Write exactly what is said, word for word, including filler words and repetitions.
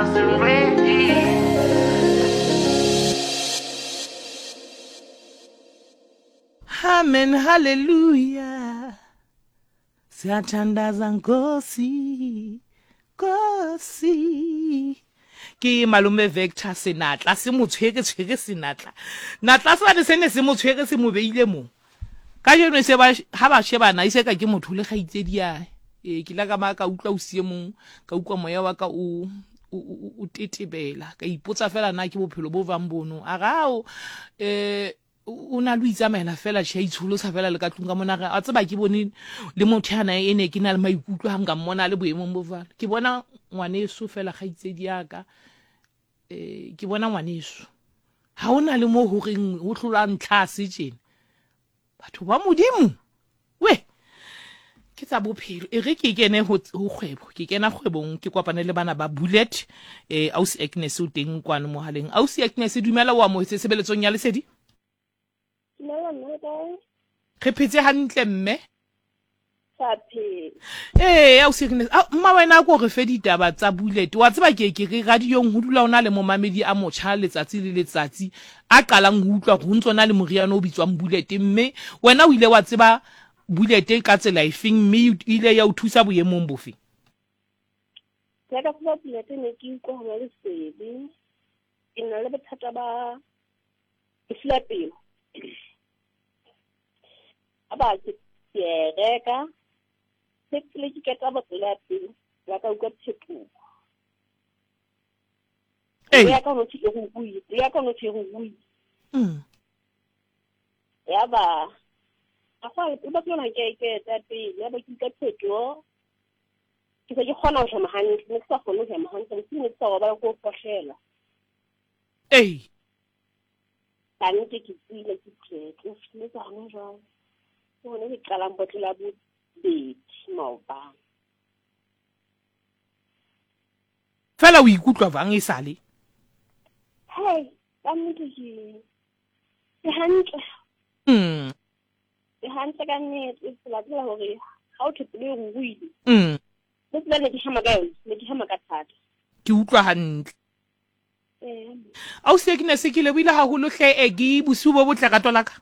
wasn't ready. Amen, hallelujah. Siyathandaza Nkosi, Nkosi. Ke malome Vector senatla se mo tshwere tshwere senatla. Natla sane se ne se mo tshwere se mo beile mo. Kajeno e se ba ha ba shebana e se ka ke motho le kgaitsedi yae. Ee, ke ile ka ba ka utlwa o sie mong, ka utlwa moya wa ka o o o o tetebela, ka ipotsa fela na ke bophelo bo jwang bono. A re ao eh o na le ho itsamaela fela tjhe, a itsholosa fela le ka tlung ka mona. A re a tseba ke bone le motho yana e ne ke na le maikutlo ha nka mmona a le boemong bo jwalo. Ke bona ngwaneso fela kgaitsedi ya ka, eh ke bona ngwaneso. Ha hona le mo horeng ho hlolwa ntlhase tjena. Batho ba Modimo, we ke tsa bophelo. E re ke kene ho ho kgwebo, ke kena kgwebong ke kopane le bana ba Bullet. Eh ausi Agnes o teng kwano mohaleng. Ausi Agnes dumela, o amohetse tshebeletsong ya Lesedi. Dumela mme, le kae? Re phetse hantle mme. Sa phela. Ee, ausi Agnes, a mma wena a ko re fe ditaba tsa Bullet. Wa tseba ke ke re radiong ho dula ho na le momamedi a motjha letsatsi le letsatsi a qalang ho utlwa hore ho ntso na le moriana o bitswang Bullet, mme wena o ile wa tseba Bullet ka tsela efeng mme e ile ya o thusa boemong bofe? Ke ya ka tseba Bullet ne ke utlwa hona lesedi. Ke na le bothata ba lefu la pelo. A ba ke ke a e reka. Se pele ke qeta botlolo ya pele, la ka utlwa phetoho. Ee. Pelo ya ka ho thwe e ruruhile, pelo ya ka ho thwe e ruruhile. Mm. Ya ba a go le batho ba ke ke eta pele, ya ba ke utlwa phetoho. Ke se ke kgona ho hema hantle, ne ke sa kgone ho hema hantle, bosiu ne ke sa robala ke ho kgohlela. Ee. Ka nnete ke tswile ke phetse, ho fihletse hona jwale. Ke hona ke qalang botlolo ya bobedi maobane. Fela o ikutlwa jwang esale? Hei, ka nnete ke ke hantle. Mm. Ke hantle ka nnete, tsela tsela hore ha o thwe pelo e ruruhile. Mm. Le tsela ne ke hema ka yona, ne ke hema ka thata. Ke utlwa hantle. Ee. Ausi Agnes ke lebohile haholo hle, e ke bosiu bo botle rato la ka.